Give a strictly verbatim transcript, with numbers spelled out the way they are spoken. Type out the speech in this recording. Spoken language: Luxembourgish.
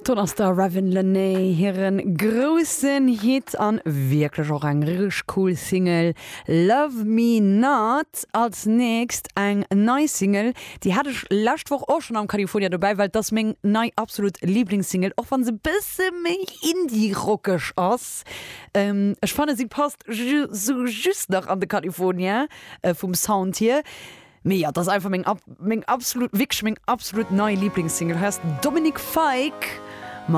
Dann ass der Ravyn Lenae hiren groussen Hit an wierklech och eng richteg cool Single Love Me Not. Als nächst eng nei Single, déi hat ech lescht Woch och schonn am California dobäi, well dat ass meng nei absolut Liblingssingle, och wann se bësse méi indie-rockeg ass. Ähm, ech fannen si passt ju sou just nach an de California äh, vum Sound hier. Mee ja, dat ass einfach meng, meng absolut wierklech meng absolut nei Liblingssingle. Heescht Dominic Fike